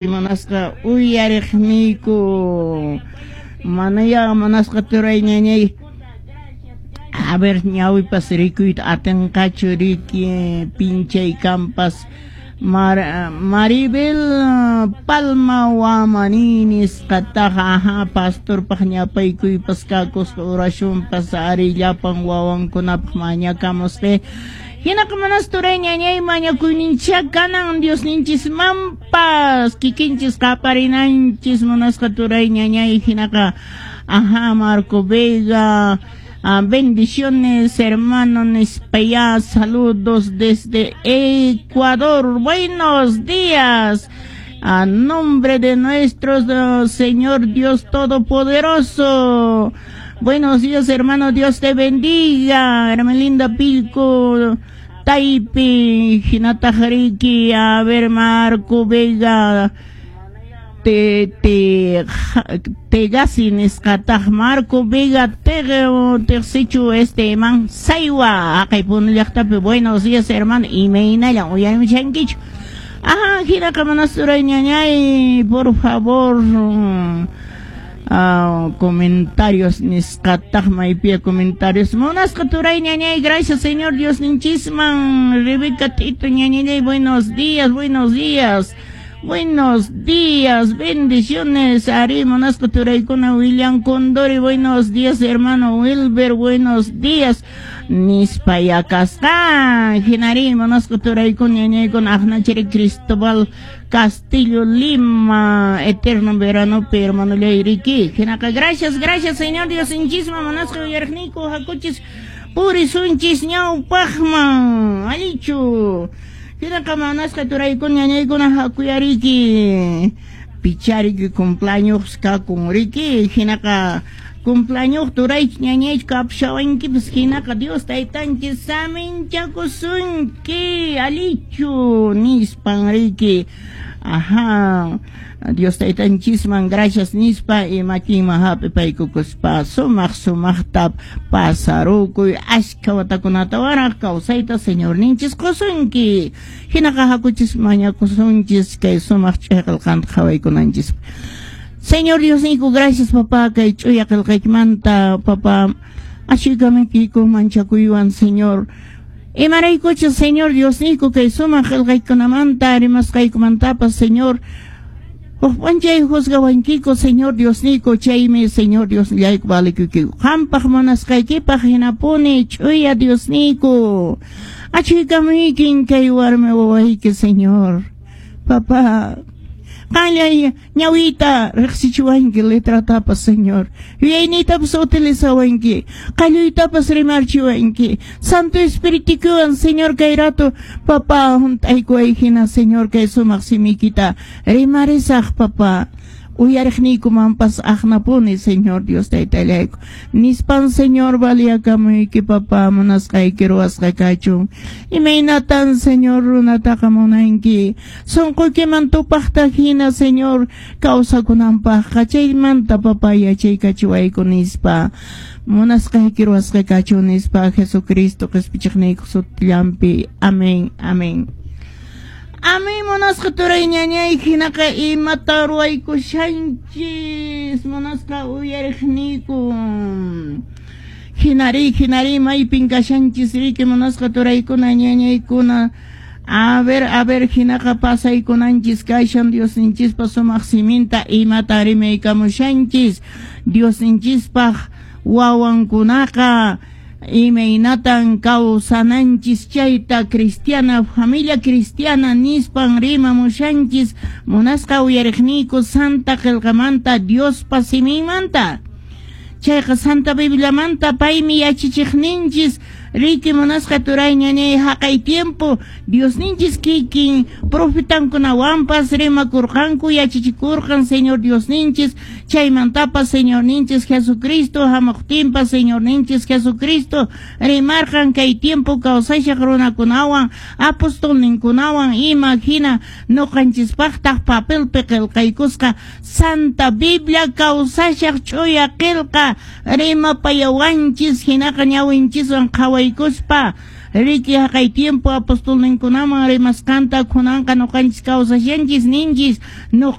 Munasqa uyariqniyku manaya munasqa turay ñañay a ver ñawipas rikuyta atinqachu riki pinchay kampas Maribel Palma Wamani nisqataqa aha pastorpaq ñapaykuypas kakusqa oracionpas ari llapan wawankunapaq mañakamusqa. Hinaqa manas turay ñañay mañakuyninchá kanan Diosninchismanpas kikinchis qaparinanchis munasqa turay ñañay hinaqa aha Marco Vega bendiciones hermano nispayá saludos desde Ecuador, buenos días a nombre de nuestro Señor Dios Todopoderoso. Buenos días, hermano, Dios te bendiga. Hermelinda Pilco, Taipi, Hinata Jariki, a ver, Marco Vega, te te Tegasi nisqataq Marco Vega Teqsichu este man Saywa haqay Puno llaqtapi. Buenos días, hermano, imaynallan uyarimushankichu. Ajá, hinaqa manasuray ñañay, por favor. Comentarios nisqataq maypiya comentarios munasqa turay ñañay, gracias Señor Dios ninchisman. Rebeca Tito ñañay, buenos días, buenos días, buenos días, bendiciones. Ari munasqa turaykuna William Condori, buenos días, hermano Wilber, buenos días nispa yakasqa. Hinari munasqa turaykuna ñañaykuna aqnachiri Cristóbal Castillo Lima, eterno verano, hermano Leiriki. Hinaqa, gracias, gracias, Señor Dios inchisma, munasqa uyariqniyku, hakuchis, purisunchis ñawpaqman, allichu. Hinaqa, munasqa turaykuna, ñañaykuna, hakuyariki, pichariki cumpleaños kakun, riki, hinaqa, cumpleaños turaych ñañaych kapshawankipas, hinaqa Dios taytanchis saminchakusunki, allichu, nispan riki. Ajá, Dios taytanchisman gracias nispa y makinman hap'ipaykukuspa sumaq sumaqta pasarukuy ashka watakunata waraq kawsayta Señorninchis qusunki. Hinaqa hakuchis mañakusunchis kay sumaq ch'uya qillqanta qhawaykunanchis. Señor Diosniyku, gracias papá kay ch'uya qillqaykimanta papá ashuykamuykiku manchakuywan Señor. Imaraykuchus Señor Diosniyku kay sumaq qillqaykunamanta rimasqaykumantapas Señor huk p'unchay juzgawankiku Señor Diosniyku, chaymi Señor Diosnillayku valikuykiku qampaq munasqaykipaq hinapuni ch'uya Diosniyku achuykamuykin kay warmi wawayki Señor papá. Qanllay ñawiyta riqsichiwanki letratapas Señor, yuyayniytapas utilizawanki, qalluytapas rimarchiwanki, Santo Espirituykiwan Señor kay rato papá hunt'aykuway hina Señor kay sumaq simiykita rimarisaq papá. Uyariqniykumanpas aqnapuni Señor Dios taytallayku nispan Señor valiakamuyki papá munasqayki ruwasqa kachun. Imaynatan Señor runataqa munanki sunquykiman tupaqta hina Señor kawsakunanpaqqa chaymanta papá yachaykachiwayku nispa munasqayki ruwasqa kachun nispa Jesucristo qispichiqniyku sutillanpi. Amén, amén. Amén, munasqa turay ñañay hinaqa imata ruwaykushanchis munasqa uyariqniyku. Hinari, hinari maypin kashanchis riki munasqa turaykuna ñañaykuna. A ver, hinaqa pasaykunanchis kashan Diosninchispa sumaq siminta imata rimaykamushanchis Diosninchispaq wawankunaqa imaynatan kawsananchis chayta cristiana familia cristiana nispan rimamushanchis munasqa uyariqniyku Santa Qillqamanta Diospa siminmanta. Chayqa Santa Bibliamanta paymi yachachiqninchis riki munasqa turay ñañay haqay tiempo Diosninchis kikin profetankunawanpas rimakurqanku yachachikurqan Señor Diosninchis chaymantapas Señorninchis Jesucristo hamuqtinpas Señorninchis Jesucristo rimarqan kay tiempo kawsashaq runakunawan apostolninkunawan ima hina nuqanchispaqtaq papelpi qillqaykusqa Santa Biblia kawsashaq ch'uya qillqa rimapayawanchis hinaqa ñawinchiswan qhawaykuspa Riki haqay tiempo apostolninkunaman rimasqanta kunanqa ñuqanchis kawsashanchis ninchis.